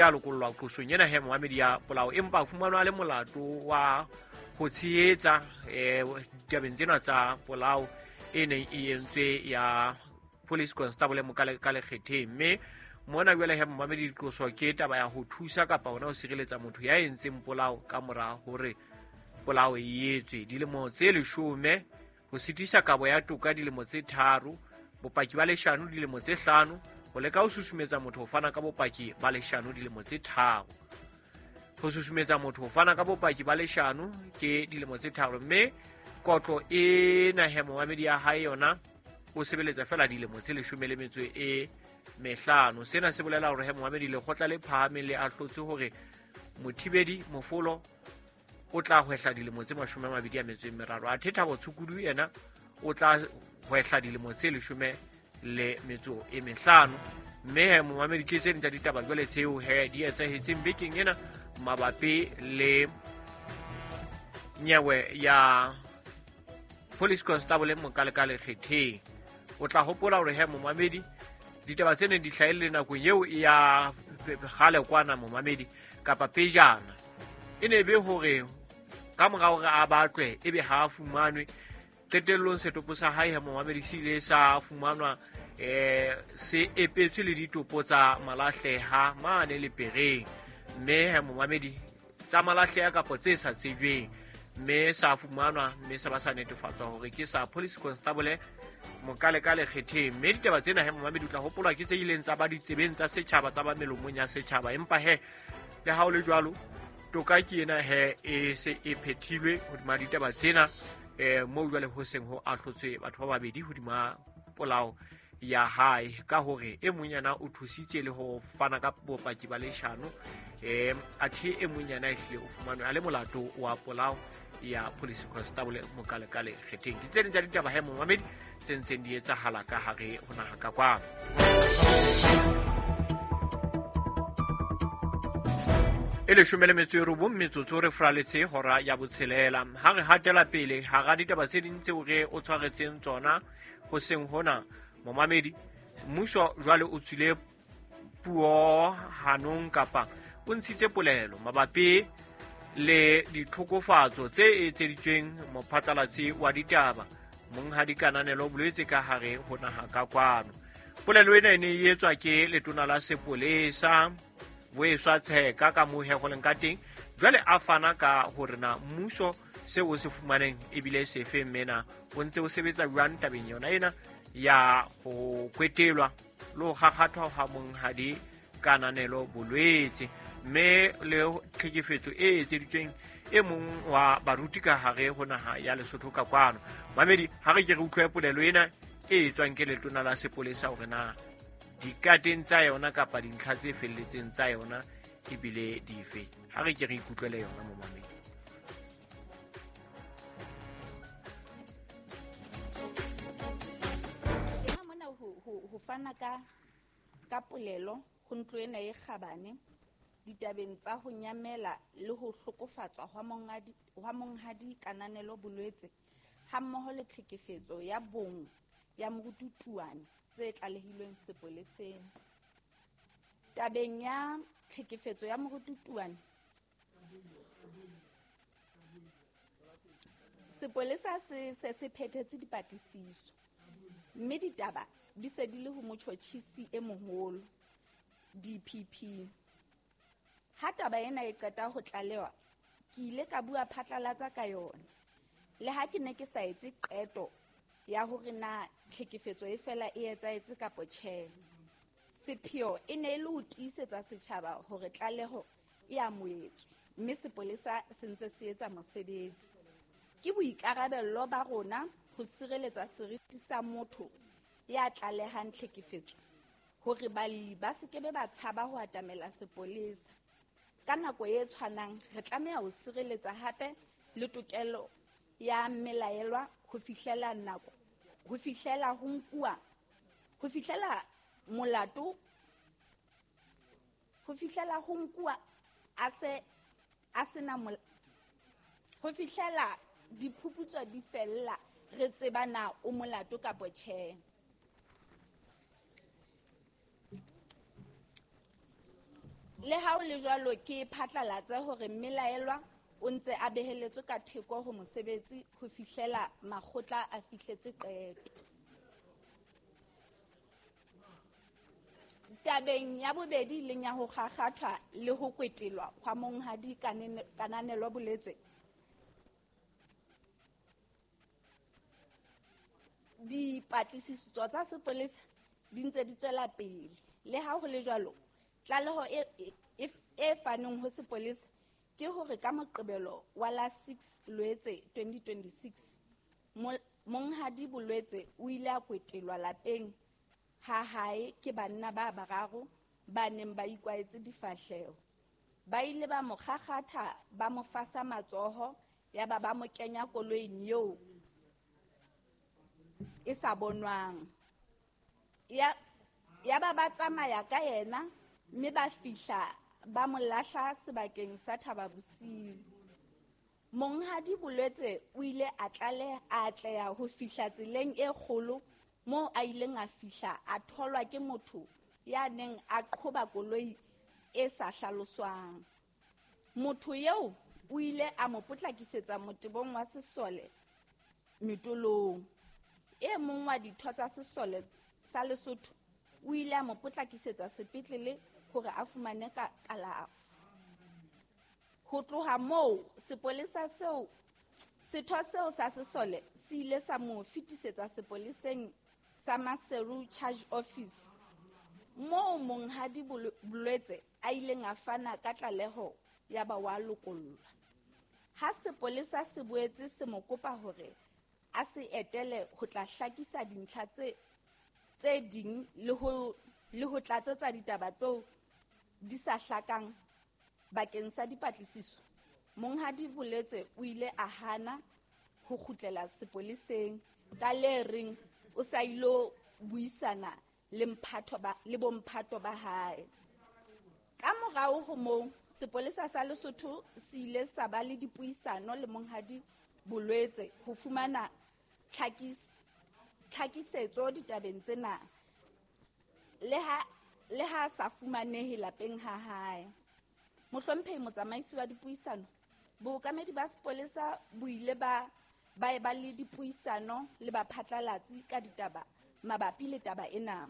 A lokollwa qosong ena he momamedi ya polao, empa a fumanwa a le molato wa ho tshehetsa ditabeng tsena tsa polao e neng e entswe ya police constable Mokale ka Lekgetheng. Mme mona jwale he momamedi, diqoso ke taba ya ho thusa kapa hona ho sireletsa motho ya entseng polao ka mora hore polao e etswe. Dilemo tse 10, ho sitisa kabo ya toka dilemo tse 3, bopaki ba leshano dilemo tse 5, ho leka ho susumetsa motho ho fana ka bopaki ba leshano dilemo tse 3. Ho susumetsa motho ho fana ka bopaki ba leshano ke dilemo tse 3, mme kotlo e he momamedi ya hae yona o sebeletsa fela dilemo tse 15. Sena se bolela hore he momamedi, lekgotla le phahameng le ahlotse hore Mothibedi Mofolo o tla hwehla dilemo tse 23, athe Thabo Tshukudu yena o tla hwehla dilemo tse 15. Mme he momamedi, ke tse ding tsa ditaba jwale tseo he di etsahetseng bekeng ena mabapi le nyewe ya police constable Mokale ka Lekgetheng. O tla hopola hore he momamedi, ditaba tse neng di hlahelle nakong eo ya kgale kwana momamedi, kapa pejana, e ne be hore ka mora hore a batlwe ebe ha a fumanwe, qetellong setopo sa hae he momamedi se ile sa fumanwa se epetswe le ditopo tsa malahleha mane lepereng, mme he momamedi tsa malahleha kapa tse sa tsejweng, mme sa fumanwa mme sa ba sa netefatswa hore ke sa police constable Mokale ka Lekgetheng. Mme ditaba tsena he momamedi, o tla hopola ke tse ileng tsa ba ditsebeng tsa setjhaba, tsa ba melomong ya setjhaba. Empa he le ha o le jwalo, toka ke ena he e se e phethilwe hodima ditaba tsena, moo jwale ho seng ho ahlotswe batho ba babedi hodima polao ya hae, ka hore e mong yana o thusitse le ho fana ka bopaki ba leshano, athe e mong yana ehlile o fumanwe a le molato wa polao ya police constable Mokale ka Lekgetheng. Ke tse ding tsa ditaba he momamedi tse ntseng di etsahala ka hare ho naha ka kwano. E 19 metsotso re fraletse hora ya 6. Ha re hatela pele hara ditaba tse ding tseo re o tshwaretseng tsona hoseng hona momamedi, mmuso jwale o tswile puo hanong kapa o ntshitse polelo mabapi le ditlhokofatso tse etseditsweng mophatlalatsi wa ditaba Monghadi Kananelo Bolwetse ka hare ho naha ka kwano. Polelo ena e ne e etswa ke letona la sepolesa Boeswa Tsheka ka moo he go leng ka teng. Jwale a fana ka hore na mmuso seo o se fumaneng ebile sefe, mme na o ntse o sebetsa jwang tabeng yona ena ya ho kwetelwa le ho kgakgathwa ha Monghadi Kananelo Bolwetse, mme le tlhekefetso e etseditsweng e mong wa baruti ka hare ho naha ya Lesotho ka kwano. Mamedi, ha re ke re utlwe polelo ena e etswang ke letona la sepolesa hore na dikateng tsa yona kapa dintlha tse felletseng tsa yona ebile dife. Ha re ke re ikutlwele yona momamedi. Tena mona ho fana ka polelo ho ntlo ena e kgabane ditabeng tsa ho nyamela le ho hlokofatswa hwa Monghadi Kananelo Bolwetse hammoho le tlhekefetso ya bong ya Moruti Tuane tse tlalehilweng sepoleseng. Tabeng ya tlhekefetso ya Moruti Tuane, sepolesa se se se phethetse dipatlisiso, mme ditaba di se di le ho motjhotjhisi e moholo DPP. Ha taba ena e qeta ho tlalewa, ke ile ka bua phatlalatsa ka yona. Le ha ke ne ke sa etse qeto ya hore na tlhekefetso e fela e etsahetse kapa tjhe, sepheo e ne e le ho tiisetsa setjhaba hore tlaleho e amohetswe, mme sepolesa se ntse se etsa mosebetsi. Ke boikarabello ba rona ho sireletsa seriti sa motho ya tlalehang tlhekefetso, hore balli ba se ke be ba tshaba ho atamela sepolesa. Ka nako e tshwanang, re tlameha ho sireletsa hape le tokelo ya mmelaelwa ho fihlela nako, ho fihlela ho nkuwa, ho fihlela molato, ho fihlela ho nkuwa a se a sena ho fihlela diphuputso di fella re tseba na o molato kapa tjhe. Le ha ho le jwalo, ke phatlalatse hore mmelaelwa o ntse a beheletswe ka theko ho mosebetsi ho fihlela makgotla a fihletse qeto. Tabeng ya bobedi leng ya ho kgakgathwa le ho kwetelwa hwa monghadi Kananelo Boletswe, dipatlisiso tsa sepolesa di ntse di tswela pele. Le ha ho le jwalo, tlaleho e faneng ho sepolesa ke hore ka Moqebelo wa la 6 Loetse 2026, monghadi Bolwetse o ile a kwetelwa lapeng ha hae ke banna ba bararo ba neng ba ikwahetse difahleho. Ba ile ba mo kgakgatha, ba mo fasa matsoho, yaba ba mo kenya koloing eo e sa bonwang. Yaba ba tsamaya ka yena mme ba fihla ba mo lahla sebakeng sa Thaba Bosiu. Monghadi Bolwetse o ile a atleha ho fihla tseleng e kgolo moo a ileng a fihla a tholwa ke motho ya neng a qhoba koloi e sa hlaloswang. Motho eo o ile a mo potlakisetsa motebong wa sesole Metolong. E mong wa ditho tsa sesole sa Lesotho o ile a mo potlakisetsa sepetlele hore a fumane kalafo. Ho tloha moo, setho seo sa sesole se ile sa mo fetisetsa sepoleseng sa Maseru Charge Office, moo monghadi Bolwetse a ileng a fana ka tlaleho ya ba wa lokollwa. Ha sepolesa se boetse se mo kopa hore a se etele ho tla hlakisa dintlha tse ding le ho tlatsetsa ditaba tseo di sa hlakang bakeng sa dipatlisiso, monghadi Bolwetse o ile a hana ho kgutlela sepoleseng ka le reng o sa ilo buisana le bomphato ba hae. Ka morao ho moo, sepolesa sa Lesotho se ile sa ba le dipuisano le monghadi Bolwetse ho fumana tlhakisetso ditabeng tsena, le ha sa fumanehe lapeng ha hae. Mohlomphehi motsamaisi wa dipuisano, bookamedi ba sepolesa bo ile ba eba le dipuisano le baphatlalatsi ka ditaba mabapi le taba ena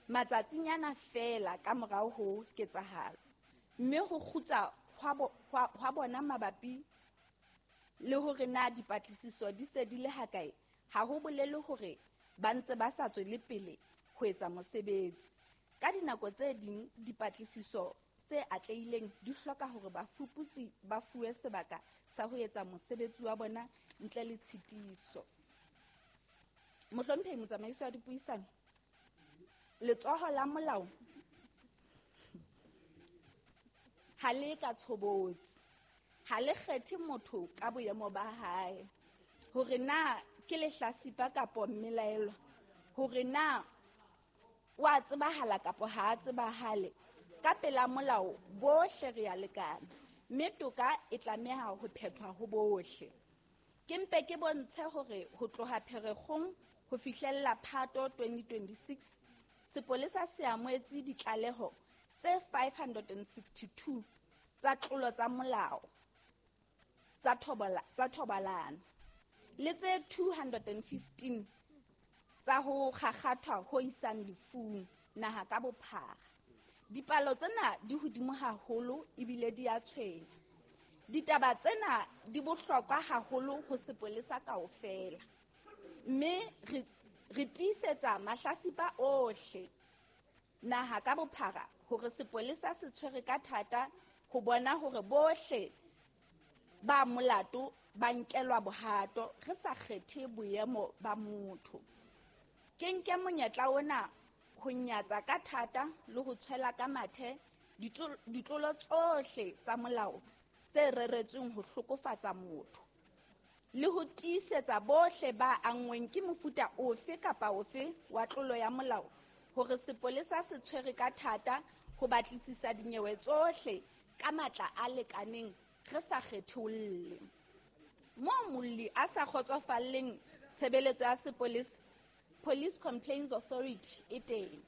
matsatsinyana feela ka morao ho ketsahalo, mme ho kgutsa hwa bona mabapi le hore na dipatlisiso di se di le hakae ha ho bolele hore ba ntse ba sa tswele pele ho etsa mosebetsi. Ka dinako tse ding dipatlisiso tse atlehileng di hloka hore bafuputsi ba fuwe sebaka sa ho etsa mosebetsi wa bona ntle le tshitiso. Mohlomphehi motsamaisi wa dipuisano, letsoho la molao ha le ka tshobotsi, ha le kgethe motho ka boemo ba hae, hore na ke lehlasipa kapa mmelaelwa, hore na wa tsebahala kapa ha a tsebahale. Ka pela molao bohle re a lekana, mme toka e tlameha ho phethwa ho bohle. Ke mpe ke bontshe hore ho tloha Pherekgong ho fihlella Phato 2026, sepolesa se amohetse ditlaleho tse 562 tsa tlolo tsa molao tsa thobalano le tse 215 tsa ho kgakgathwa ho isang lefung naha ka bophara. Dipalo tsena di hodimo haholo ebile di a tshwenya. Ditaba tsena di bohlokwa haholo ho sepolesa kaofela, mme re tiisetsa mahlasipa ohle naha ka bophara hore sepolesa se tshwere ka thata ho bona hore bohle ba molato ba nkelwa bohato, re sa kgethe boemo ba motho. Ke nke monyetla ona ho nyatsa ka thata le ho tshwela ka mathe ditlolo tsohle tsa molao tse reretsweng ho hlokofatsa motho, le ho tiisetsa bohle ba anngweng ke mofuta ofe kapa ofe wa tlolo ya molao hore sepolesa se tshwere ka thata ho batlisisa dinyewe tsohle ka matla a lekaneng, re sa kgetholle. Moo molli a sa kgotsofalleng tshebeletso ya sepolesa, Police Complaints Authority e teng.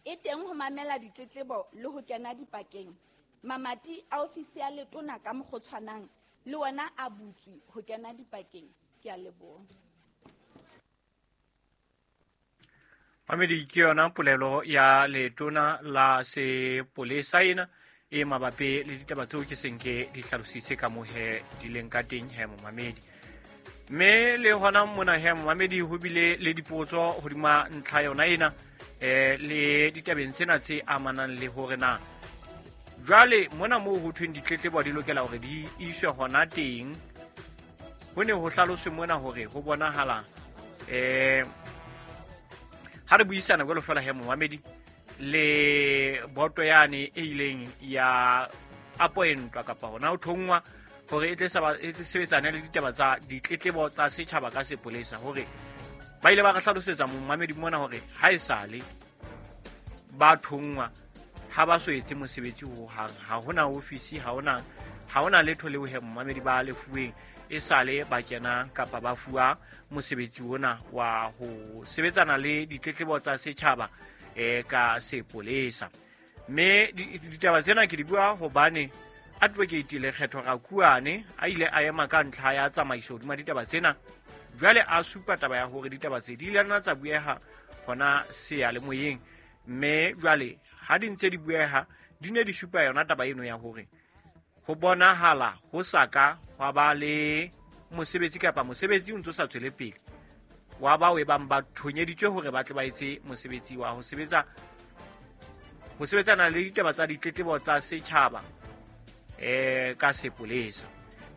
E teng ho mamela ditletlebo le ho kena dipakeng. Mamati a ofisi ya letona ka mokgwa o tshwanang le wona a butswe ho kena dipakeng. Ke a leboha. Mamedi, ke yona polelo ya letona la sepolesa ena e mabapi le ditaba tseo ke seng ke di hlalositse ka moo he di leng ka teng he momamedi. Mme le hona mona he momamedi ho bile le dipotso hodima ntlha yona ena le ditabeng tsena tse amanang le hore na jwale mona moo ho thweng ditletlebo di lokela hore di iswe hona teng. Ho ne ho hlaloswe mona hore ho bonahala ha re buisana jwalo fela he momamedi le boto yane e ileng ya appointwa kapa hona ho thongwa hore e tle sebetsane le ditaba tsa ditletlebo tsa setjhaba ka sepolesa, hore ba ile ba re hlalosetsa momamedi mona hore ha e sale ba thongwa ha ba so etse mosebetsi ho hang, ha hona ofisi, ha hona letho leo he momamedi ba lefuweng e sale ba kena kapa ba fuwa mosebetsi ona wa ho sebetsana le ditletlebo tsa setjhaba ka sepolesa. Mme ditaba tsena ke di bua hobane Advocate Lekgetho Rakuane a ile a ema ka ntlha ya tsamaiso hodima ditaba tsena. Jwale a supa taba ya hore ditaba tse di ile nna tsa bueha hona seyalemoyeng, mme jwale ha di ntse di bueha di ne di supa yona taba eno ya hore ho bonahala ho sa ka hwa ba le mosebetsi kapa mosebetsi o ntso sa tswele pele wa bao e bang ba thonyeditswe hore ba tle ba etse mosebetsi wa ho sebetsana le ditaba tsa ditletlebo tsa setjhaba ka sepolesa.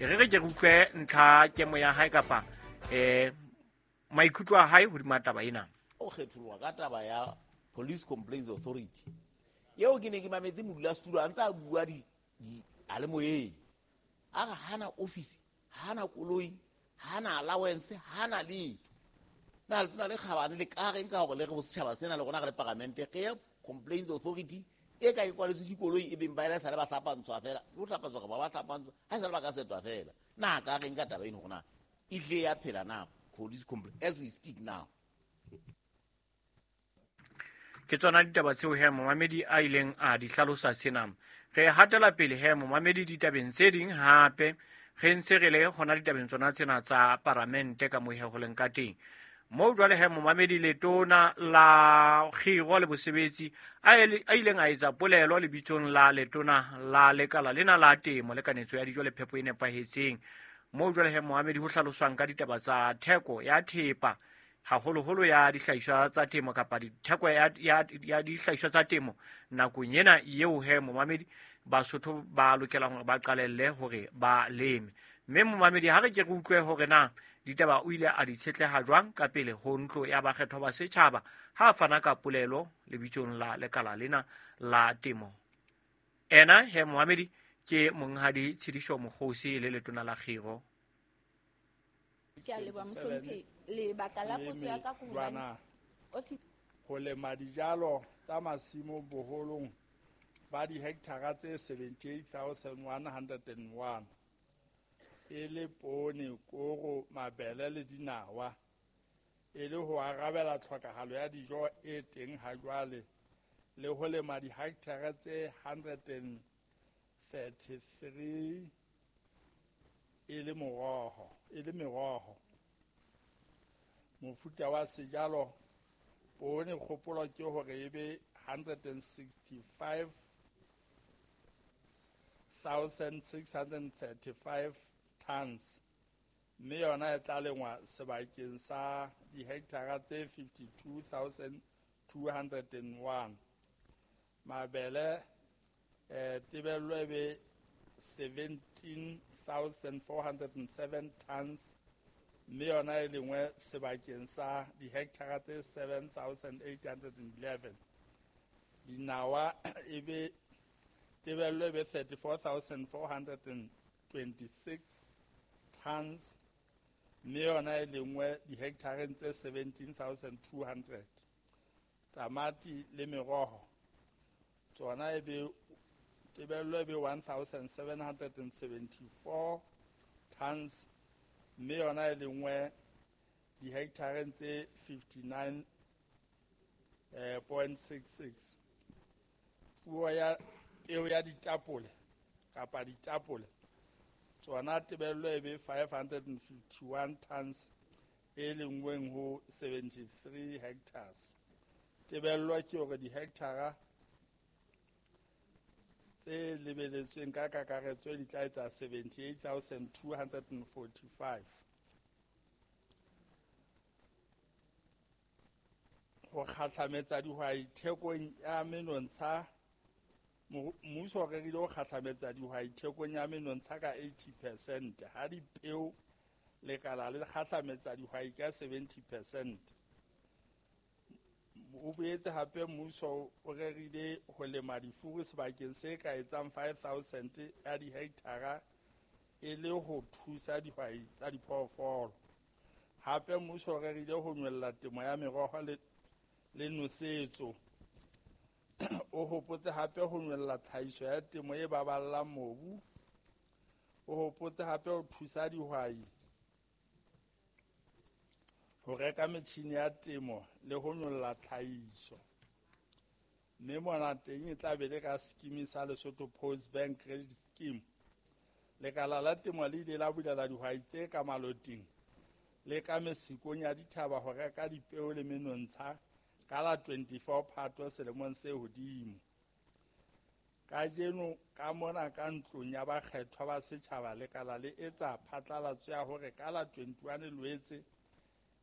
E re ke re utlwe ntlha kemo ya hae kapa maikutlo a hae hodima taba ena. O kgetholoha ka taba ya Police Complaints Authority eo ke ne ke mametse modulasetulo a ntse a bua di alemoyeng, a re hana office, hana koloi, hana allowance, hana letho. Na letona le kgabane le ka reng ka hore le re bosetjhaba sena le rona re le paramente re Complaints Authority e ka e kwaletswe dikoloi e beng ba ela sale ba hlapantshwa fela, o hlapantswa kapa ba hlapantswa ha e sale ba ka setwa fela. Na ka reng ka taba eno hore na e tle ya phela na police complaint as we speak now? Ke tsona ditaba tseo he momamedi a ileng a di hlalosa sena. Re hatela pele he momamedi ditabeng tse ding hape re ntse re le hona ditabeng tsona tsena tsa paramente ka moo he ho leng ka teng. Moo jwale he momamedi letona la kgiro le bosebetsi a ileng a etsa polelo lebitsong la letona la lekala lena la temo le kanetso ya dijo le phepo e nepahetseng. Moo jwale he momamedi ho hlaloswang ka ditaba tsa theko ya thepa haholoholo ya dihlahiswa tsa temo kapa ditheko ya dihlahiswa tsa temo nakong ena eo he momamedi Basotho ba lokelang hore ba qalelle hore ba leme. Mme momamedi ha re ke re utlwe hore na ditaba o ile a di tshetleha jwang ka pele ho ntlo ya bakgethwa ba setjhaba ha a fana ka polelo lebitsong la lekala lena la temo. Ena he momamedi ke monghadi Tshidiso Mokgosi le letona la kgiro. Ke a leboha mohlomphehi. Lebaka la potso ya ka ke hobane ho lema dijalo tsa masimo boholong ba dihekthara tse 78,101 e le poone, koro, mabele le dinawa, e le ho arabela tlhokahalo ya dijo e teng ha jwale le ho lema dihekthara tse 133 e le meroho. Mofuta wa sejalo poone kgopolo ke hore e be 165,635 tons, mme yona e tla lengwa sebakeng sa dihekthara tse 52,201. Mabele tebello e be 17,407 tons, mme yona e lengwe sebakeng sa dihekthara tse 7,811. Dinawa e be tebello e be 34,426 tons, mme yona e lengwe dihekthareng tse 17,200. Tamati le meroho tsona e be tebello e be 1,774 tons, mme yona e lengwe dihekthareng tse 59.66. Peo ya ditapole kapa ditapole tsona tebello e be 551 tons e lengweng ho 73 hectares. Tebello ke hore dihekthara tse lebeletsweng ka kakaretso di tla etsa 78,245. Ho kgahlametsa dihwai thekong ya menontsha, mmuso o rerile ho kgahlametsa dihwai thekong ya menontsha ka 80%, ha dipeo lekala le kgahlametsa dihwai ka 70%. O boetse hape mmuso o rerile ho lema difuru sebakeng se ka etsang 5,000 ya dihekthara e le ho thusa dihwai tsa diphoofolo. Hape mmuso o rerile ho nyolla temo ya meroho le nosetso. O hopotse hape ho nyolla tlhahiso ya temo e baballang mobu. O hopotse hape ho thusa dihwai ho reka metjhini ya temo le ho nyolla tlhahiso. Mme mona teng e tla be le ka scheme sa Lesotho Post Bank Credit Scheme. Lekala la temo le ile la bulela dihwai tse ka maloting le ka mesikong ya dithaba ho reka dipeo le menontsha ka la 24 Phato selemong se hodimo. Kajeno ka mona ka ntlong ya bakgethwa ba setjhaba lekala le etsa phatlalatso ya hore ka la 21 Loetse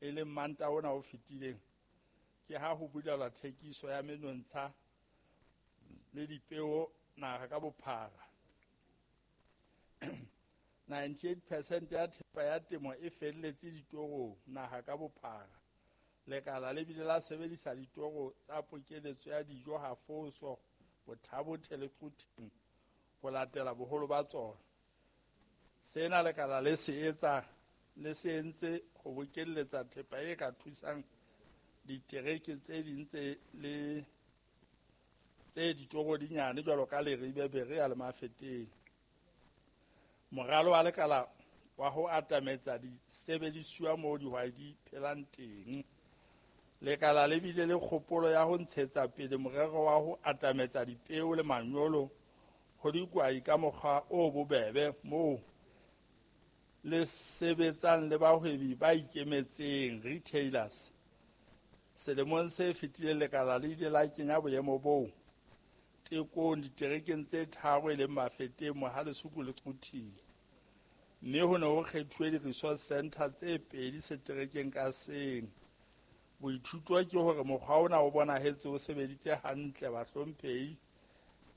e leng Mantaha ona o fetileng ke ha ho bulelwa thekiso ya menontsha le dipeo naha ka bophara. 98% ya thepa ya temo e felletse ditorong naha ka bophara. Lekala le bile la sebedisa ditoro tsa pokeletso ya dijo Hafoso, Bothabothe le Quthing ho latela boholo ba tsona. Sena lekala le se etsa le se entse ho bokelletsa thepa e ka thusang ditereke tse ding tse le tse ditoro di nyane jwalo ka Leribe, Berea le Mafeteng. Moralo wa lekala wa ho atametsa disebedisuwa moo dihwai di phelang teng. Lekala le bile le kgopolo ya ho ntshetsa pele morero wa ho atametsa dipeo le manyolo ho dihwai ka mokgwa o bobebe moo le sebetsang le bahwebi ba ikemetseng retailers. Selemong se fetileng lekala le ile la kenya boemo boo tekong diterekeng tse tharo e leng Mafeteng, Mohalesuku le Quthing. Mme ho ne ho kgethuwe di-resource center tse pedi seterekeng ka seng. Boithuto ke hore mokgwa ona o bonahetse o sebeditse hantle bahlomphehi,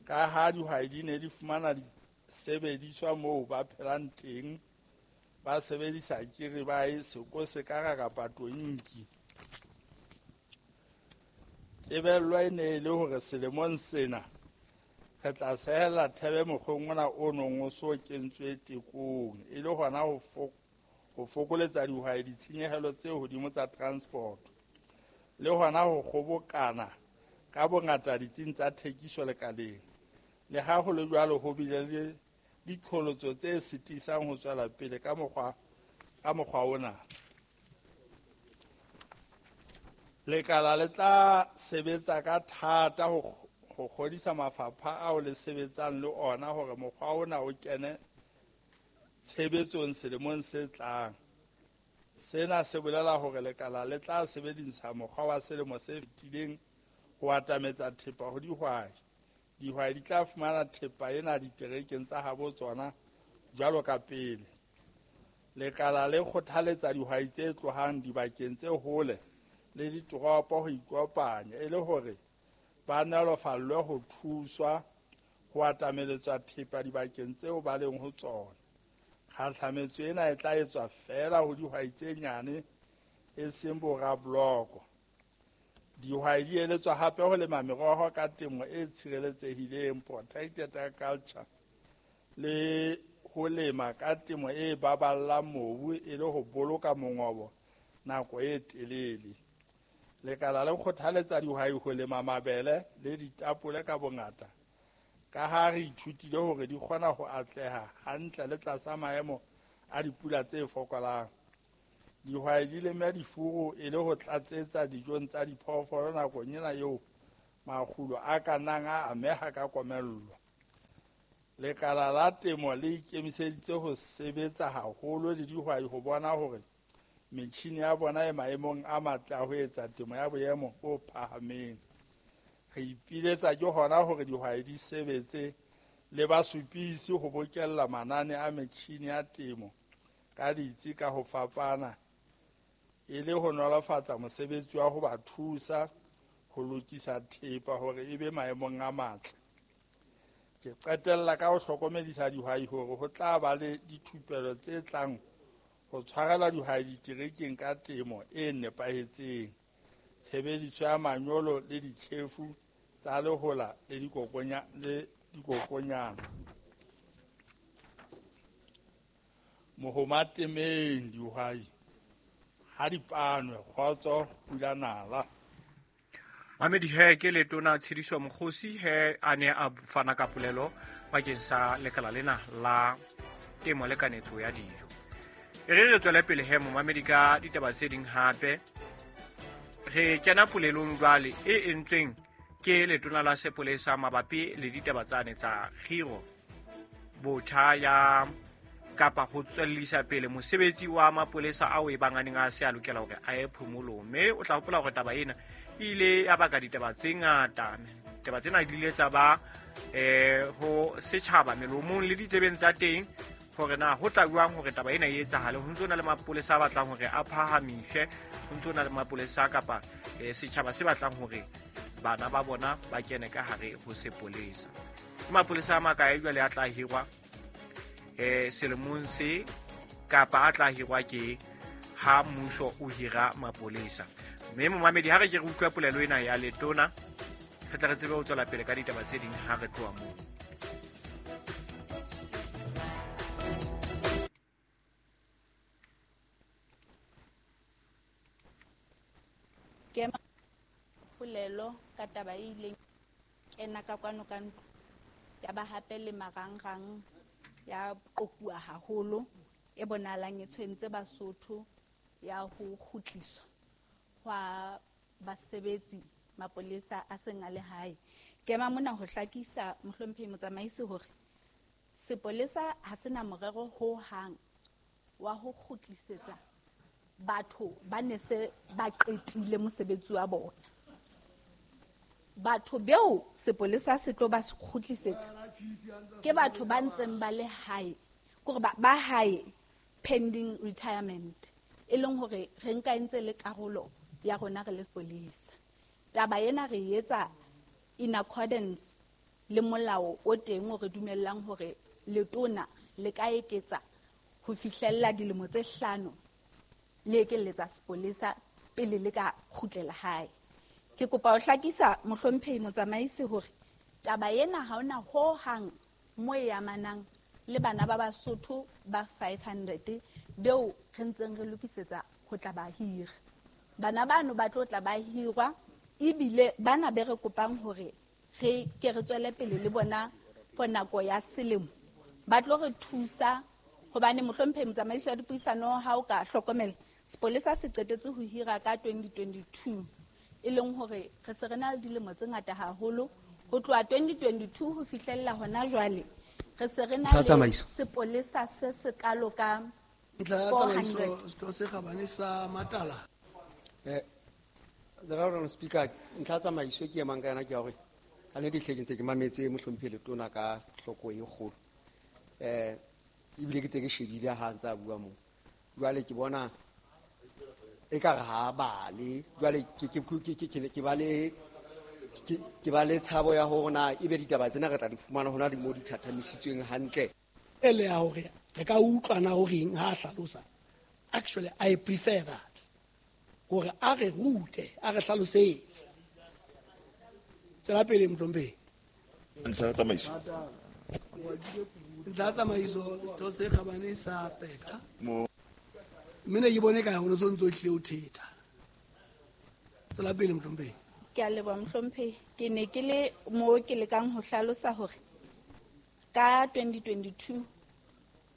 ka ha dihwai di ne di fumana disebediswa moo ba phelang teng, ba sebedisa kiribae, sekosekara kapa tonki. Tebello e ne e le hore selemong sena re tla sehella thebe mokgweng ona o nong o so kentswe tekong e le hona ho fokoletsa dihwai ditshenyehelo tse hodimo tsa transport le hona ho kgobokana ka bongata ditsing tsa thekiso lekaleng. Le ha ho le jwalo, ho bile le diqholotso tse sitisang ho tswela pele ka mokgwa ona. Lekala le tla sebetsa ka thata ho kgodisa mafapha ao le sebetsang le ona hore mokgwa ona o kene tshebetsong selemong se tlang. Sena se bolela hore lekala le tla sebedisa mokgwa wa selemo se fetileng ho atametsa thepa ho dihwai. Dihwai di tla fumana thepa ena diterekeng tsa habo tsona jwalo ka pele. Lekala le kgothaletsa dihwai tse tlohang dibakeng tse hole le ditoropo ho ikopanya e le hore ba nolofallwe ho thuswa ho atameletswa thepa dibakeng tseo ba leng ho tsona. Kgahlametso ena e tla etswa feela ho dihwai tse nyane e seng borabloko. Dihwai di eletswa hape ho lema meroho ka temo e tshireletsehileng, protected agriculture, le ho lema ka temo e baballang mobu e le ho boloka mongobo nako e telele. Lekala le kgothaletsa dihwai ho lema mabele le ditapole ka bongata, ka ha re ithutile hore di kgona ho atleha hantle le tlasa maemo a dipula tse fokolang. Dihwai di leme difuru e le ho tlatsetsa dijong tsa diphoofolo nakong ena eo Makgulo a ka nnang a ameha ka komello. Lekala la temo le ikemiseditse ho sebetsa haholo le dihwai ho bona hore metjhini ya bona e maemong a matle a ho etsa temo ya boemo bo phahameng. Re ipiletsa ke hona hore dihwai di sebetse le basupisi ho bokella manane a metjhini ya temo ka ditsi ka ho fapana e le ho nolofatsa mosebetsi wa ho ba thusa ho lokisa thepa hore e be maemong a matle. Ke qetella ka ho hlokomedisa dihwai hore ho tla ba le dithupelo tse tlang ho tshwarela dihwai diterekeng ka temo e nepahetseng, tshebediso ya manyolo le ditjhefu tsa lehola le dikokonyana. Mohoma temeng dihwai ha di panwe, kgotso pula nala. Mamedi he ke letona Tshediso Mokgosi he a ne a fana ka polelo bakeng sa lekala lena la temo le kanetso ya dijo. E re re tswele pele he momamedi ka ditaba tse ding hape. Re kena polelong jwale e entsweng ke letona la sepolesa mabapi le ditaba tsane tsa kgiro botjha ya kapa ho tswellisa pele mosebetsi wa mapolesa ao e bang a neng a se a lokela hore a ye phomolong. Mme o tla hopola hore taba ena e ile ya baka ditaba tse ngata. Ditaba tsena di ile tsa ba ho setjhaba melomong le ditsebeng tsa teng hore na ho tla jwang hore taba ena e etsahale. Ho ntso na le mapolesa a batlang hore a phahamiswe, ho ntso na le mapolesa kapa setjhaba se batlang hore bana ba bona ba kene ka hare ho sepolesa. Ke mapolesa a makae jwale a tla hirwa selemong se kapa a tla hirwa ke ha mmuso o hira mapolesa. Mme momamedi ha re ke re utlwa polelo ena ya letona, re tla re tsebe ho tswela pele ka ditaba tse ding ha re tloha moo. Ke polelo ka taba e ileng kena ka kwano ka ntlo ya ba hape le marangrang ya qokuwa haholo e bonahalang e tshwentse Basotho ya ho kgutliswa hwa basebetsi mapolesa a seng a le hae. Ke ema mona ho hlakisa mohlomphehi motsamaisi hore sepolesa ha sena morero ho hang wa ho kgutlisetsa batho ba ne se ba qetile mosebetsi wa bona. Batho beo sepolesa se tlo ba kgutlisetsa ke batho ba ntseng ba le hae, kore ba hae pending retirement, e leng hore re nka ntse le karolo ya rona re le sepolesa. Taba ena re etsa in accordance le molao o teng o re dumellang hore letona le ka eketsa ho fihlella dilemo tse 5 le ekelletsa sepolesa pele le ka kgutlela hae. Ke kopa ho hlakisa mohlomphehi motsamaisi hore taba ena ha hona ho hang mo e amanang le bana ba Basotho ba 500 beo re ntseng re lokisetsa ho tla ba hira. Bana bano ba tlo tla ba hirwa ebile bana be re kopang hore re ke re tswele pele le bona for nako ya selemo. Ba tlo re thusa hobane mohlomphehi motsamaisi wa dipuisano ha o ka hlokomela sepolesa se qetetse ho hira ka 2022, e leng hore re se re na le dilemo tse ngata haholo ho tloha 2022 ho fihlella hona jwale re se re na le sepolesa se sekalo ka 400. Setho se kgabane sa Matala. The Honourable Speaker, ntlha tsamaiso ke emang ka yona ke ya hore ka nnete hle ke ntse ke mametse mohlomphehi letona ka hloko e kgolo. Ebile ke tse ke shebile ha ntse a bua moo. Jwale ke bona ekare ha bale, jwale ke ba le tshabo ya hore na ebe ditaba tsena re tla di fumana hona di mo di thathamisitsweng hantle. E le ya hore re ka utlwana horeng ha a hlalosa. Actually, I prefer that. Hore a re rute, a re hlalosetse. Tswela pele mohlomphehi. Ntlha ya tsamaiso. Ntlha ya tsamaiso, setho se kgabane sa Peka. Mme ne ke bone ka ho no ntso tlile o thetha. Tswela pele mohlomphehi. Ke a leboha mohlomphehi. Ke ne ke le mo ke lekang ho hlalosa hore ka 2022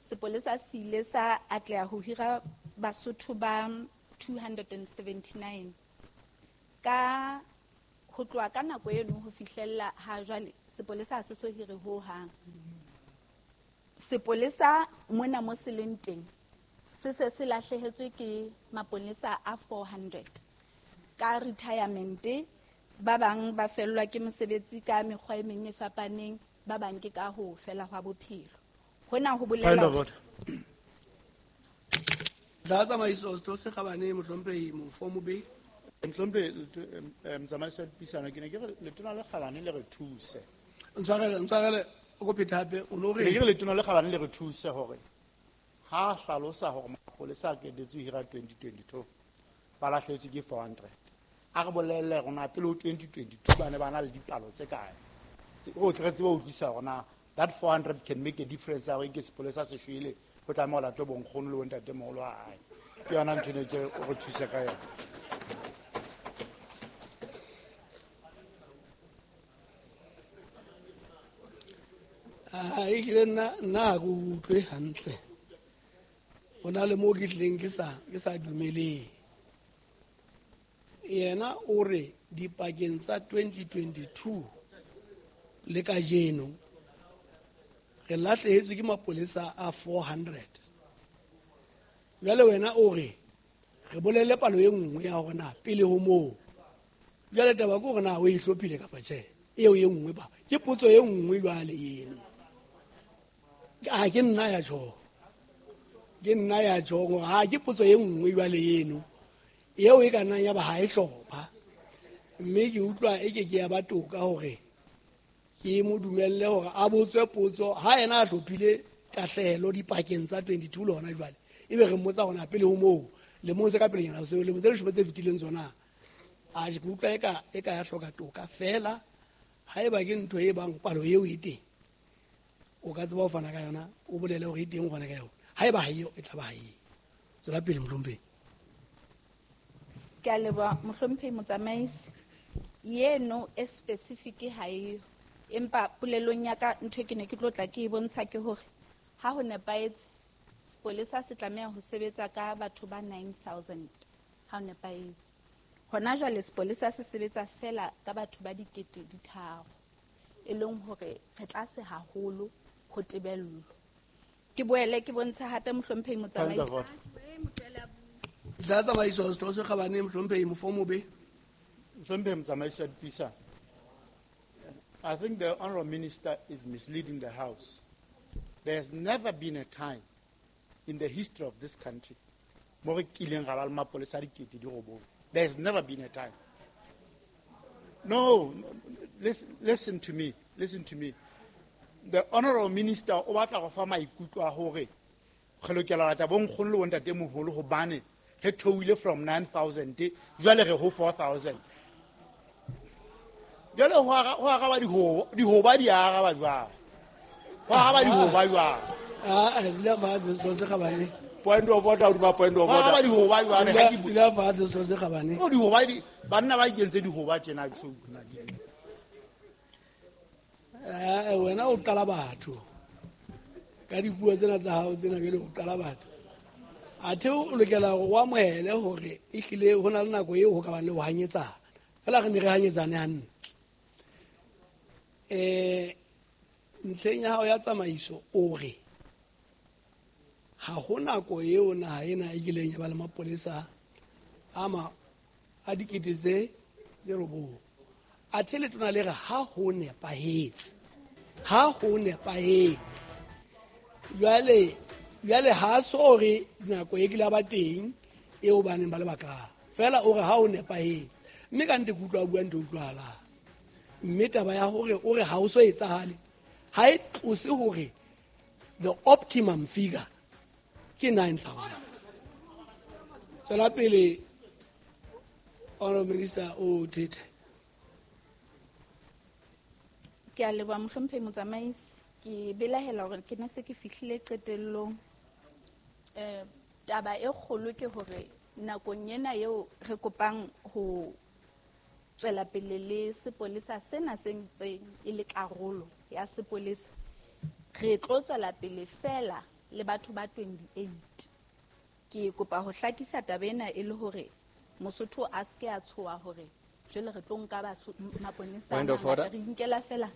sepolesa se ile sa atleha ho hira Basotho ba 279. Ka Ho tloha ka nako eno ho fihlella ha jwale sepolesa ha se so hire ho hang. Sepolesa mona mo se leng teng se se se lahlehetswe ke mapolesa a 400 ka retirement. Ba bang ba fellwa ke mosebetsi ka mekgwa e meng e fapaneng, ba bang ke ka ho fela hwa bophelo. Hona ho bolela Tla tsamaiso setho se kgabane mohlomphehi Mofomobe. Mohlomphehi motsamaisi wa dipuisano, ke ne ke re letona le kgabane le re thuse. Ntshwarele o ko phete hape o no re. Ke ne ke re letona le kgabane le re thuse hore ha hlalosa hore mapolesa a qetetse ho hira 2022 ba lahlehetswe ke 400. A re bolelle rona pele ho 2022 ba ne ba na le dipalo tse kae. O tle re tsebe ho utlwisisa hore na that 400 can make a difference ya hore ke sepolesa se shwele ho tlameha ho latwe bonkgono le bontatemoholo wa hae. Ke yona ntho ene ke o re thuse ka yona. Ehlile nna ha ke utlwe hantle. Ho na le moo ke tlileng ke sa dumeleng. Yena o re dipakeng tsa 2022 le kajeno re lahlehetswe ke mapolesa a 400. Jwale wena o re re bolelle palo e nngwe ya hore na pele ho moo. Jwale taba ke hore na o e hlophile kapa tjhe. Eo e nngwe ba ke potso e nngwe jwale eno. Ha ke nna ya tjho. Ke nna ya tjho hore ha ke potso e nngwe jwale eno. Eo e ka nnang ya ba ha e hlopha. Mme ke utlwa e ke ke ya ba toka hore ke mo dumelle hore a botswe potso ha yena a hlophile tahlehelo dipakeng tsa 22 le hona jwale. Ebe re mmotsa hore na pele ho moo lemong se ka pelenyana seo lemong tse leshome tse fetileng tsona. A ke utlwa e ka ya hloka toka fela. Haeba ke ntho e bang palo eo e teng, o ka tseba ho fana ka yona, o bolele hore e teng o fana ka yona. Haeba ha eo, e tla ba ha eo. Tswela pele mohlomphehi. Ke a leboha mohlomphehi motsamaisi. Yeno e specific ha eyo. Empa polelong ya ka ntho e ke ne ke tlo tla ke e bontsha ke hore ha ho nepahetse sepolesa se tlameha ho sebetsa ka batho ba 9000 ha ho nepahetse. Hona jwale sepolesa se sebetsa fela ka batho ba 3,000 e leng hore re tlase haholo ho tebello. Ke boele ke bontsha hape mohlomphehi motsamaisi. Tla tsamaiso setho se kgabane mohlomphehi Mofomobe. Mohlomphehi motsamaisi wa dipuisano, I think the Honorable Minister is misleading the House. There has never been a time in the history of this country mo re kileng ra ba le mapolesa a 9,000. There has never been a time. No, listen to me. Listen to me. The Honorable Minister o batla go fa maikutlo a hore re lokela ho lata bonkgono le bontatemoholo hobane re theohile from 9,000 jwale re ho 4,000. Jwale ho araba dihoba di araba jwang? Ho araba dihoba jwang? Ah, dula fatshe setho se kgabane. Point of order, hodima point of order. Ho araba dihoba jwang? Ha ke Dula fatshe setho se kgabane. No, dihoba di banna ba ikentse dihoba tjena ke so utlwa di. Wena o qala batho. Ka dipuo tsena tsa hao tsena jwale o qala batho. Athe o lokela hore o amohele hore ehlile ho na le nako eo ho ka bang le ho hanyetsana. Fela re ne re hanyetsane hantle. Ntlheng ya hao ya tsamaiso o re ha ho nako eo naha ena e kileng ya ba le mapolesa a 9,000. Athe letona le re ha ho nepahetse. Ha ho nepahetse. Jwale ha so re nako e kile ba teng eo ba neng ba le baka. Fela o re ha ho nepahetse. Mme ka nnete ke utlwa bua ntho utlwahalang. Mme taba ya hore o re ha o so etsahale ha e tlose hore the optimum figure ke 9,000. Tswela pele Honorable Minister o thethe. Ke a leboha mohlomphehi motsamaisi. Ke belahela hore ke ne se ke fihlile qetellong. Taba e kgolo ke hore nakong ena eo re kopang ho tswela pele le sepolesa sena se ntseng e le karolo ya sepolesa, re tlo tswela pele fela le batho ba 28. Ke kopa ho hlakisa taba ena e le hore Mosotho a se ke a tshoha hore Jwale re tlo nka maponesa Point of order. Re inkela fela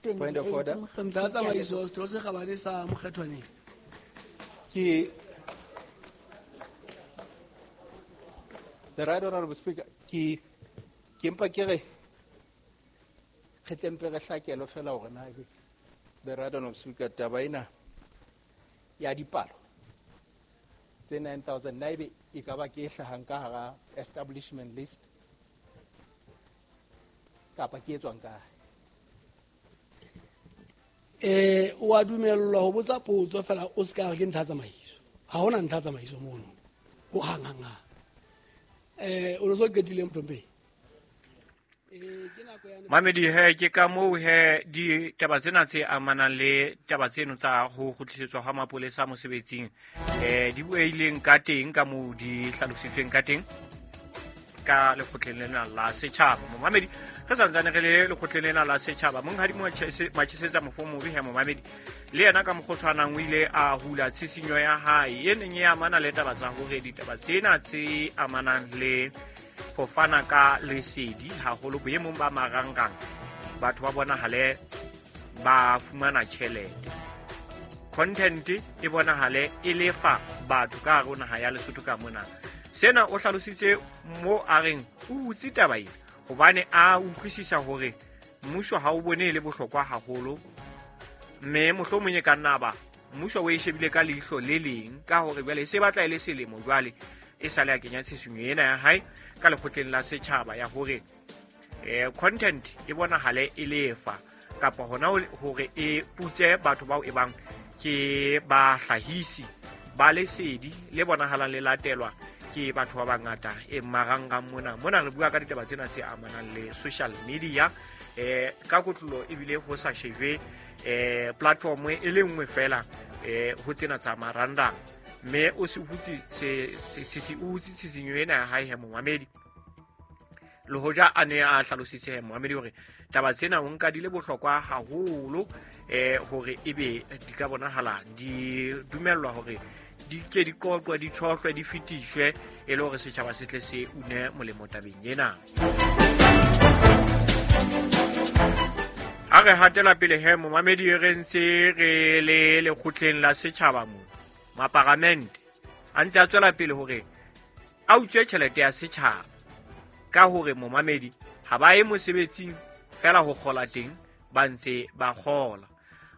Point of order. 28 mohlomphehi. Ntlha tsamaiso setho se kgabane sa Mokgethwaneng. Ke The Right Honorable Speaker, ke mpa ke re re tle mpe re hlakelo fela hore na ebe The Right Honorable Speaker, taba ena ya dipalo tse 9000 na ebe e ka ba ke e hlahang ka hara establishment list kapa ke e tswang kae? O a dumellwa ho botsa potso fela o se ka re ke ntlha tsamaiso. Ha hona ntlha tsamaiso mono. Ho hang hang hang. O no so qetile mohlomphehi. Ke nako ya Mamedi he ke ka moo he ditaba tsena tse amanang le taba tseno tsa ho kgutlisetswa ha mapolesa mosebetsing di bueileng ka teng ka moo di hlalositsweng ka teng ka lekgotleng lena la setjhaba. Momamedi re santsane re le lekgotleng lena la setjhaba, monghadi Matjhesetsa Mofomobe he momamedi le yena ka mokgwa o tshwanang o ile a hula tshisinyo ya hae e neng e amana le taba tsa hore ditaba tsena tse amanang le ho fana ka lesedi haholo boemong ba marangrang batho ba bonahale ba fumana tjhelete, content e bonahale e lefa batho ka hare ho naha ya Lesotho ka mona. Sena o hlalositse mo a reng o hutse taba ena hobane a utlwisisa hore mmuso ha o bone e le bohlokwa haholo, mme mohlomong e ka nna ba mmuso o e shebile ka leihlo le leng ka hore jwale e se batla e le selemo jwale e sale a kenya tshisinyo ena ya hae ka lekgotleng la setjhaba ya hore content e bonahale e lefa kapa hona hore e putse batho bao e bang ke bahlahisi ba lesedi le bonahalang le latelwa ke batho ba bangata e marangrang mona. Mona re bua ka ditaba tsena tse amanang le social media ka kotlolo ebile ho sa shejwe platform e le nngwe fela ho tsena tsa marangrang, mme o se hutse se hutse tshisinyo ena ya hae he momamedi. Le hoja a ne a hlalositse he momamedi hore taba tsena o nka di le bohlokwa haholo hore ebe di ka bonahala di dumellwa hore di ke di qoqwe di tshohlwe di fetiswe e le hore setjhaba se tle se une molemo tabeng ena. Ha re hatela pele he momamedi re ntse re le lekgotleng la setjhaba mo maparamente a ntse a tswela pele hore a utswe tjhelete ya setjhaba ka hore momamedi ha ba ye mosebetsing fela ho kgola teng ba ntse ba kgola.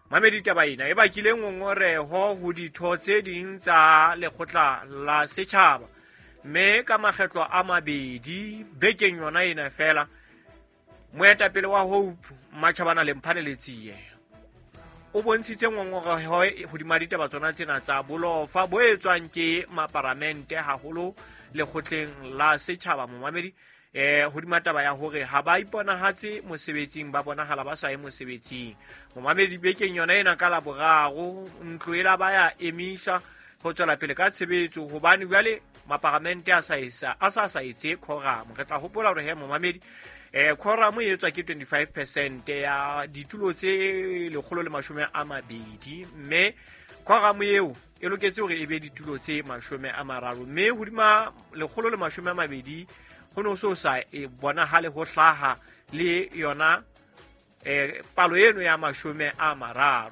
Mamedi taba ena e bakile ngongoreho ho ditho tse ding tsa lekgotla la setjhaba, mme ka makgetlo a mabedi bekeng yona ena fela moetapele wa Hope Matjhabana Lemphane Letsie o bontshitse ngongoreho hodima ditaba tsona tsena tsa bolofa bo etswang ke maparamente haholo lekgotleng la setjhaba momamedi hodima taba ya hore ha ba iponahatse mosebetsing ba bonahala ba sa ye mosebetsing. Momamedi bekeng yona ena ka Laboraro ntlo e la ba ya emisa ho tswela pele ka tshebetso hobane jwale maparamente a sa etse quorum. Re tla hopola hore he momamedi quorum e etswa ke 25% ya ditulo tse 120, mme quorum eo e loketse hore e be ditulo tse 30, mme hodima 120 ho no so sa e bonahale ho hlaha le yona palo eno ya 30.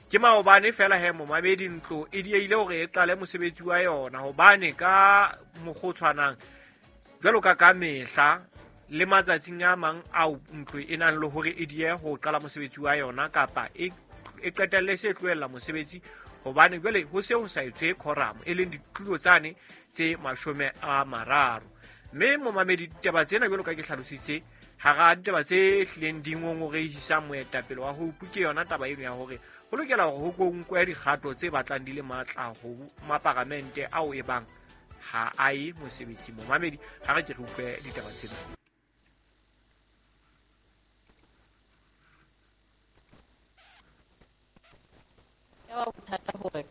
Ke maobane fela he momamedi ntlo e dieile hore e qale mosebetsi wa yona hobane ka mokgwa o tshwanang jwalo ka mehla le matsatsing a mang ao ntlo e nang le hore e die ho qala mosebetsi wa yona kapa e qetelle se tlohella mosebetsi hobane jwale ho se ho sa etswe quorum e leng ditulo tsane tse 30. Mme momamedi ditaba tsena jwalo ka ke hlalositse hara ditaba tse hlileng di ngongorehisang moetapele wa Hope ke yona taba eno ya hore ho lokela hore ho nkwe dikgato tse batlang di le matla ho maparamente ao e bang ha a ye mosebetsing. Momamedi ha re ke re utlwe ditaba tsena. Ya ba bothata hore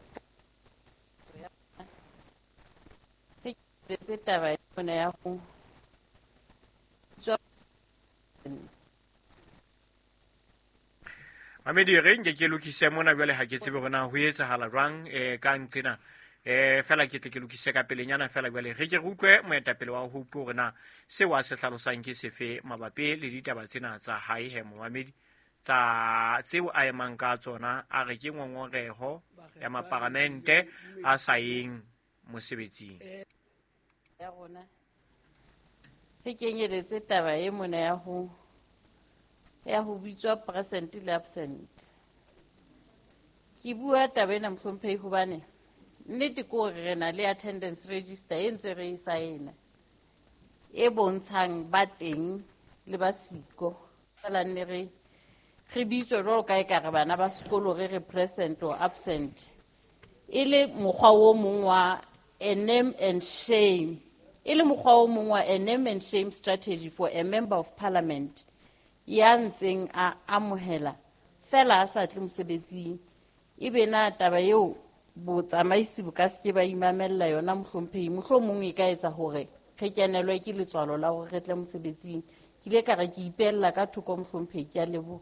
tse taba yona ya ho tswa Mamedi re nke ke lokise mona jwale ha ke tsebe hore na ho etsahala jwang ka nqena Fela ke tle ke lokise ka pelenyana fela jwale re ke re utlwe moetapele wa Hope hore na seo a se hlalosang ke sefe mabapi le ditaba tsena tsa hae he momamedi tsa tseo a emang ka tsona a re ke ngongoreho ya maparamente a sa yeng mosebetsing. Ya rona re kenyeletse taba e mona ya ho bitswa present le absent. Ke bua taba ena mohlomphehi hobane nnete ke hore re na le attendance register e ntse re e saena e bontshang ba teng le ba siko. Fela nne re bitswe jwalo ka ekare bana ba sekolo re re present or absent, e le mokgwa o mong wa a name and shame, e le mokgwa o mong wa a name and shame strategy for a member of parliament ya ntseng a amohela fela a sa tle mosebetsing. Ebe na taba eo botsamaisi bo ka se ke ba imamella yona mohlomphehi, mohlomong e ka etsa hore re kenelwe ke letswalo la hore re tle mosebetsing. Ke ile ka re ke ipella ka thoko mohlomphehi, ke a leboha.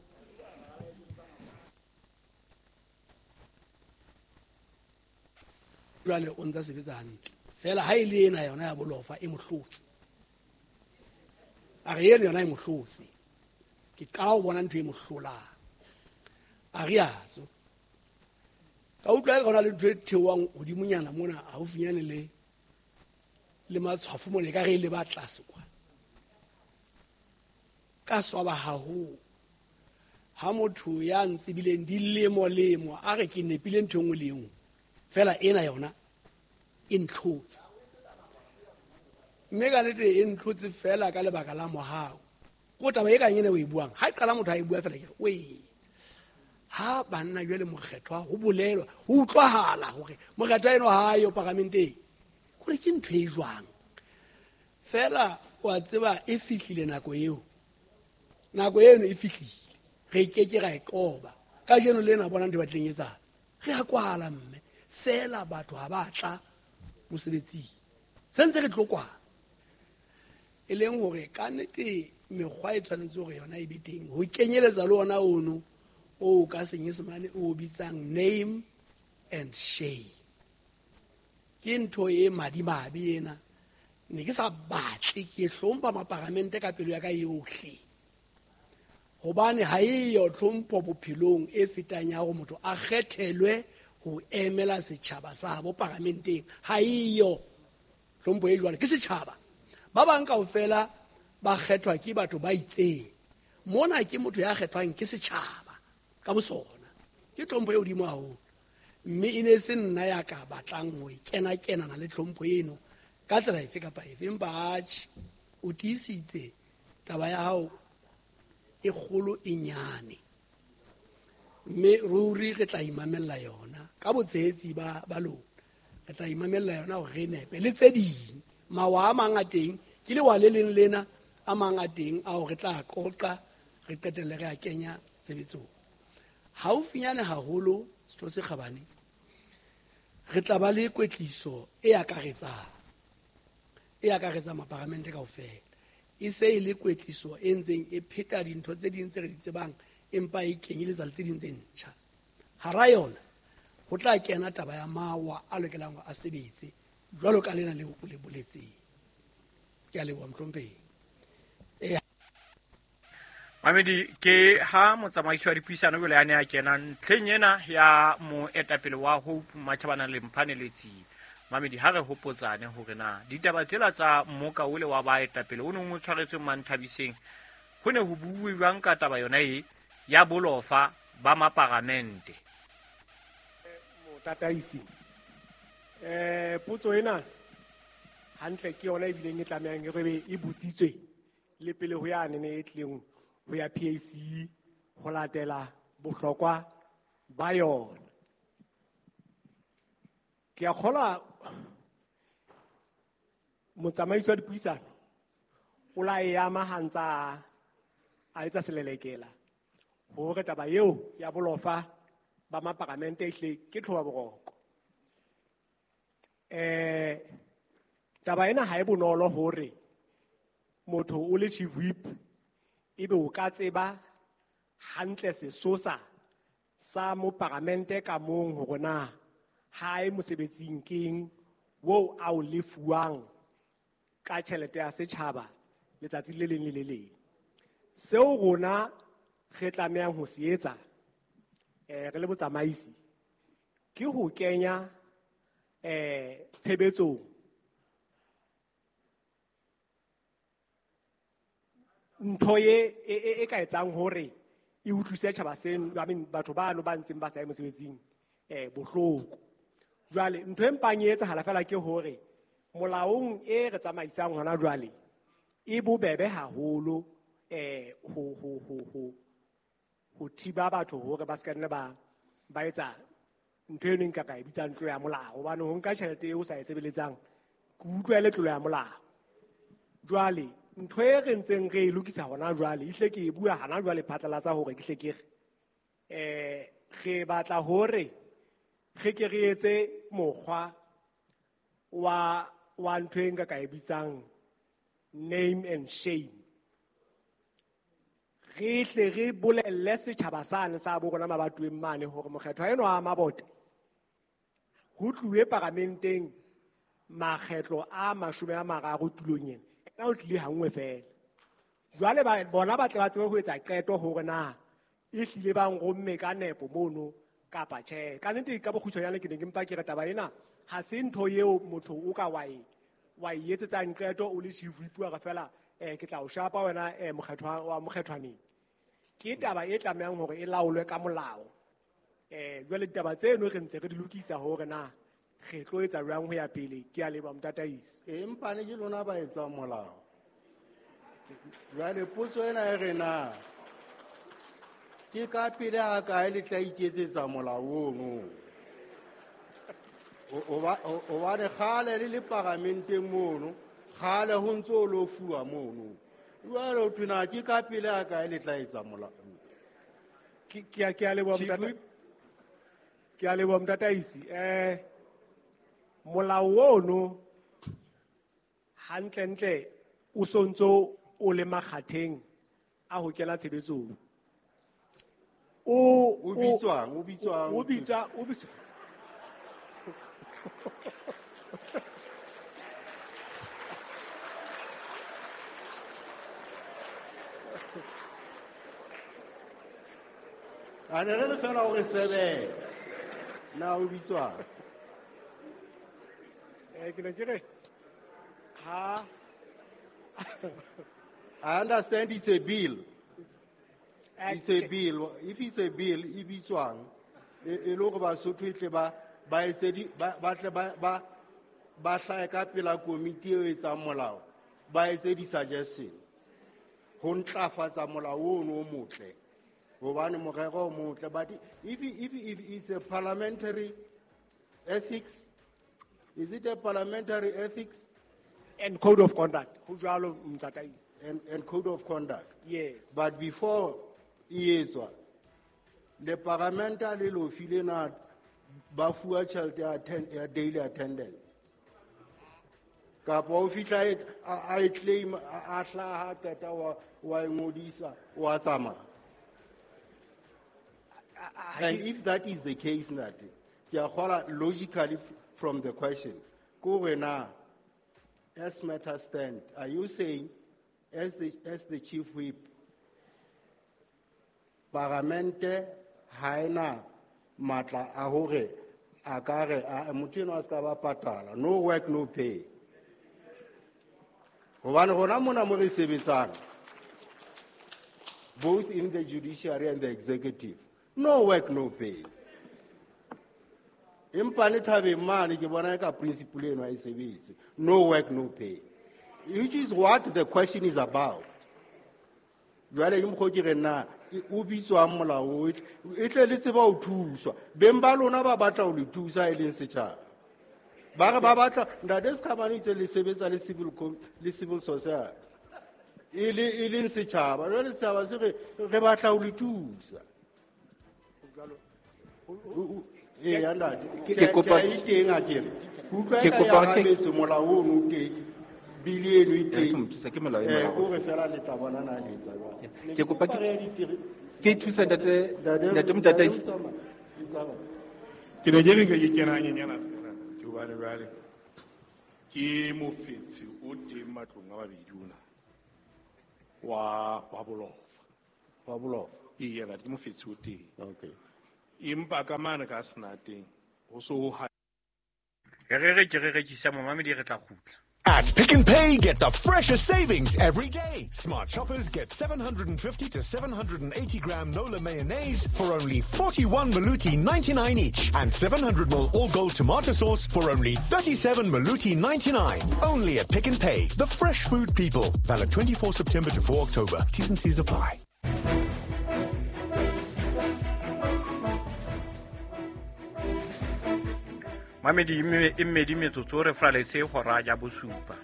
Jwale o ntsa sebetsa hantle fela ha e le ena yona ya bolofa e mohlotse, a re eno yona e mohlotse, ke qala ho bona ntho e mohlolang. A re atso ka utlwa e ka le ntho e theohang hodimonyana mona haufinyane le matshwafo mona, e ka re e le ba tlase kwa. Ka swaba haholo ha motho ya ntsebileng dilemo-lemo a re ke nepile ntho e nngwe le e nngwe, fela ena yona e ntlhotse. Mme ka nnete e ntlhotse fela ka lebaka la mohau. Ko taba e kang ena o e buang, ha e qala motho a e bua fela ke re oe, ha banna jwale mokgethwa ho bolelwa ho utlwahala hore mokgethwa eno ha yo paramenteng, hore ke ntho e jwang. Fela wa tseba e fihlile nako eo, nako eno e fihlile, re ke ke ra e qoba. Kajeno lena bona ntho e batlileng etsahala, re a kwala mme fela batho ha ba tla mosebetsing, se ntse re tlo kwala. E leng hore ka nnete mekgwa e tshwanetse hore yona e be teng, ho kenyeletsa le ona ono o ka senyesemane o bitsang name and shame. Ke ntho e madimabe ena, ne ke sa batle, ke hlompha maparamente ka pelo ya ka yohle, hobane ha eyo tlhompho bophelong e fetang ya hore motho a kgethelwe ho emela setjhaba sa habo paramenteng. Ha eyo tlhompho e jwalo, ke setjhaba. Ba bang kaofela ba kgethwa ke batho ba itseng, mona ke motho ya kgethwang ke setjhaba ka bosona. Ke tlhompho e hodimo haholo, mme e ne se nna ya ka batlang ho kena-kenana le tlhompho eno ka tsela efe kapa efe. Empa atjhe, o tiisitse taba ya hao e kgolo e nyane, mme ruri re tla imamella yona ka botshehetsi ba lona. Re tla imamella yona hore re nepe le tse ding. Mawa a mang a teng ke lewa le leng lena, a mang a teng ao re tla qoqa re qetelle re a kenya tshebetsong. Haufinyane haholo setho se kgabane, re tla ba le kwetliso e akaretsang, e akaretsang maparamente kaofela. E se e le kwetliso e ntseng e pheta dintho tse ding tse re di tsebang, empa e kenyeletsa le tse ding tse ntjha. Hara yona ho tla kena taba ya mawa a lokelang hore a sebetse jwalo ka lena leo o le boletseng. Ke a leboha mohlomphehi. Mamedi, ke ha motsamaisi wa dipuisano jwale a ne a kena ntlheng ena ya moetapele wa Hope Matjhabana le Mphane Letsie. Mamedi, ha re hopotsane hore na ditaba tsela tsa mmoka ole wa baetapele o neng o tshwaretswe Manthabiseng, ho ne ho buuwe jwang ka taba yona e ya bolofa ba maparamente? Motataisi, potso ena hantle ke yona e bileng e tlamehang e re e botsitswe le pele ho yane ne e tlileng ho ya PAC ho latela bohlokwa ba yona. Ke a kgolwa motsamaisi wa dipuisano o la e ama ha ntsa a etsa selelekela hore taba eo ya bolofa ba maparamente ehle ke tlhoba boroko. Taba ena ha e bonolo hore motho o le chief whip ebe o ka tseba hantle sesosa sa moparamente ka mong hore na hae mosebetsing keng wo a o lefuwang ka tjhelete ya setjhaba letsatsi le leng le le leng. Seo rona re tlamehang ho se etsa re le botsamaisi ke ho kenya tshebetsong ntho e ka etsang hore e utlwise tjhaba seno, I mean batho bano ba ntseng ba sa ye mosebetsing bohloko. Jwale ntho e mpang e etsahala fela ke hore molaong e re tsamaisang hona jwale e bobebe haholo ho thiba batho hore ba se ka nna ba etsa ntho eno nka ka e bitsang tlolo ya molao, hobane ho nka tjhelete eo o sa e sebeletsang ke utlwa e le tlolo ya molao. Jwale ntho e re ntseng re e lokisa hona jwale, ehlile ke e bua hana jwale phatlalatsa hore ke hle ke re re batla hore re ke re etse mokgwa wa ntho e nka ka e bitsang name and shame. Re hle re bolelle setjhaba sane sa bo rona mabatoweng mane hore mokgethwa enwa wa Mabote ho tluwe paramenteng makgetlo a 30 tulong ena, ena o tlile hanngwe fela. Jwale bona ba tle ba tsebe ho etsa qeto hore na e hlile ba nromme ka nepo mono kapa tjhe. Ka nnete ka bokgutshwanyane ke ne ke mpa ke re taba ena ha se ntho eo motho o ka wa e etsetsang qeto o le chief whip wa re fela ke tla o shapa wena mokgethwa wa mokgethwaneng. Ke taba e tlamehang hore e laolwe ka molao. Jwale ditaba tseno re ntse re di lokisa hore na re tlo etsa jwang ho ya pele. Ke a leboha motataisi. Empa ne ke lona ba etsang molao. Jwale potso ena e re na ke ka pele ha kae le tla iketsetsa molao ono? Hobane kgale le le paramenteng mono, kgale ho ntso o lo fuwa mono. Jwale ho thwe na ke ka pele ha kae le tla etsa molao? Ke a leboha motata. Ke a leboha motataisi. Molao ono hantlentle o sontso o le makgatheng a ho kena tshebetsong. O bitswang, o bitswang. O bitswa, o bitswa. A ne re le fela hore sebe. Na o bitswang? Ke ne ke re ha I understand it's a bill. It's a bill. If it's a bill, e bitswang e le hore Basotho e tle ba etse di ba tle ba hlahe ka pela komiti e etsang molao, ba etse di-suggestion ho ntlafatsa molao ono o motle, hobane morero o motle. But if it's a parliamentary ethics, is it a parliamentary ethics? And code of conduct. Ho jwalo motataisi. And code of conduct. Yes. But before e etswa, le parlamenta le lo file na ba fuwa tjhelete ya daily attendance. Kapa o fihla a e claim, a hlaha qeta wa e ngodisa, wa tsamaya. And if that is the case, ntate, ke a kgola logically from the question, ko re na, as matters stand, are you saying, as the chief whip, paramente ha ena matla a hore a ka re motho enwa a se ka ba patala, no work no pay? Hobane rona mona mo re sebetsang, both in the judiciary and the executive, no work no pay. Empa ne thabeng mane ke bona ka principle eno ha e sebetse, no work no pay, which is what the question is about. Jwale ke mokgwa ke re na o bitswang molao e tle le tseba ho thuswa. Beng ba lona ba batla ho le thusa e leng setjhaba. Ba re ba batla ntate Sekhamane itse le sebetsa le civil society e leng setjhaba. Jwale setjhaba se re re batla ho le thusa. Eya ntate, Ke kopa e teng a ke re. Ke utlwa Ke eka kopa ya ke arabetse molao ono o teng, bili eno e Ya, teng. ke mo thusa, ke molao e Eh, molao. kore fela le tla bona na le etsa jwang. Ke kopa Ke ke thusa ntate, Ntate, ntate Motataisi. ntate, o tsamaya. Ke ne ke re nke ke kena hanyenyana fela ke hobane jwale ke mofetshe o teng matlong a mabedi ona wa bolofa. Wa bolofa. Eya, ntate, ke mofetshe o teng. Okay. Empa ka mane ka senateng ho so ho Re re ke re rekisa momamedi re tla kgutla. At Pick n Pay, get the freshest savings every day. Smart shoppers get 750 to 780 gram Nola mayonnaise for only 41 Maluti 99 each, and 700 ml all gold tomato sauce for only 37 Maluti 99. Only at Pick n Pay, the fresh food people. Valid 24 September to 4 October. T's and C's apply. Mamedi e mmedi metsotso re fraletse hora ya bosupa.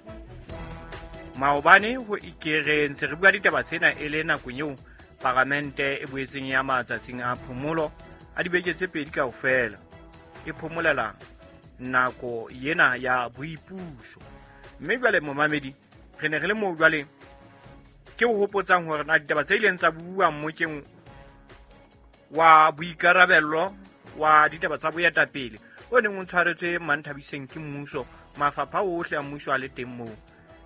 Maobane ho ikere ntse re bua ditaba tsena e le nakong eo paramente e boetseng ya matsatsing a phomolo a dibeke tse pedi kaofela e phomolela nako yena ya boipuso. Mme jwale momamedi re ne re le moo jwale ke o hopotsang hore na ditaba tse ileng tsa bua mmokeng wa boikarabello wa ditaba tsa boetapele o neng o tshwaretswe Manthabiseng ke mmuso, mafapha ohle a mmuso a le teng moo.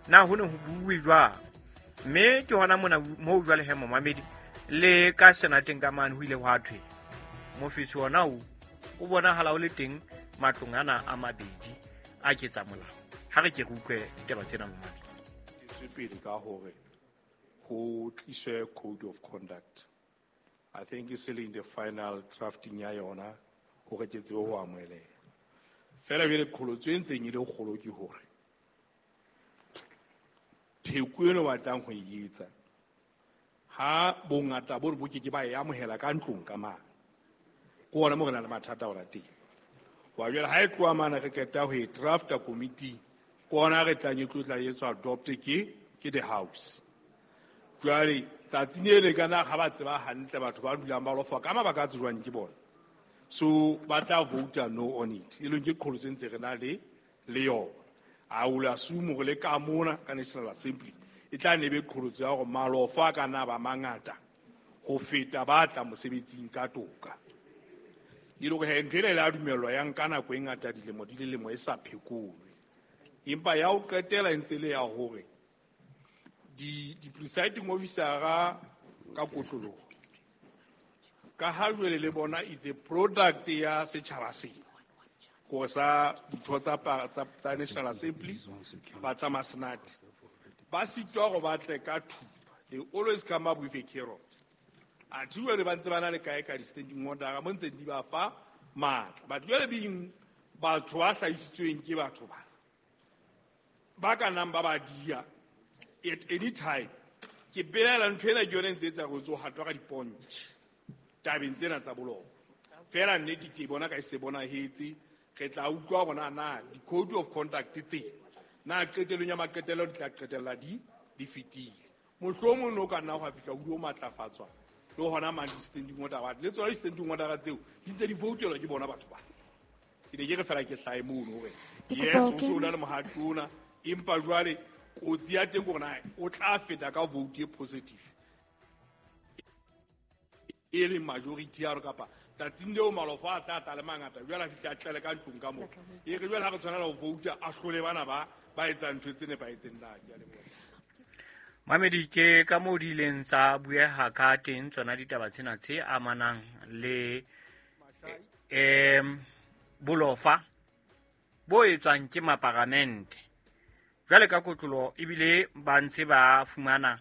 Na ho ne ho buuwe jwang? Mme ke hona mona moo jwale he momamedi le ka senateng ka mane ho ile hwa thwe mofetsi ona o bonahala o le teng matlong ana a mabedi a ketsa molao. Ha re ke re utlwe ditaba tsena momamedi. Tswe pele ka hore ho tliswe code of conduct. I think it's still in the final drafting ya yona hore ke tsebe ho amoheleha. Fela jwale qholotso e ntseng e le kgolo ke hore pheko eno batlang ho e etsa ha bongata bo re bo ke ke ba e amohela ka ntlong ka mane. Ke hona moo re nang le mathata ona teng. Wa jwale ha e tloha mane re qeta ho e drafta committee, ke hona re tlang e tlo tla etswa adopt ke the house. Jwale tsatsing le ka na ha ba tseba hantle batho ba dulang ba lofa ka mabaka a tsejwang ke bona. So ba tla vote no on it. E leng ke qholotso e ntse re na le yona. I will assume hore le ka mona ka National Assembly e tla ne be qholotso ya hore malofa a ka nna ba mangata ho feta ba tla mosebetsing ka toka. E le hore he ntho ena e la dumellwa ya nka nako e ngata dilemo di le lemo e sa phekolwe. Empa ya ho qetela e ntse le ya hore di presiding officer-a ka kotloloho ka ha jwale le bona is a product ya setjhaba sena go sa ditho tsa National Assembly ba tsa masenate ba sitwa go batle ka thupa. They always come up with a carrot. Athe jwale ba ntse ba na le kae ka di-standing order mo ntse di ba fa matla, but jwale being batho ba hlahisitsweng ke batho ba ba ka nang ba ba dia at any time. Ke belaela ntho ena ke yone e ntse etsa go tso hatwa ka dipontjhe tabeng tsena tsa bolofa. Fela nnete ke bona ka e se bonahetse, re tla utlwa bona na di-code of conduct tse na qetellong ya maqetelo di tla qetella di fetile. Mohlomong no ka nna hwa fihla o matlafatswa le hona mang di-standing order ba le tsona di-standing order tseo di ntse di voutelwa ke bona batho ba. Ke ne ke re fela ke hlae mono hore yes o se o na le mohato ona, empa jwale kotsi ya teng hore na o tla feta ka vote e positive e leng majority ya rona kapa tsatsing leo malofa a tla tla le mangata jwale a fihla a tlele ka ntlong ka moo. E re jwale ha re tshwanela ho vouta a hlole bana ba etsang ntho tse nepahetseng na. Ke a leboha. Mamedi ke ka moo di ileng tsa bueha ka teng tsona ditaba tsena tse amanang le bolofa bo etswang ke maparamente. Jwale ka kotlolo ebile ba ntse ba fumana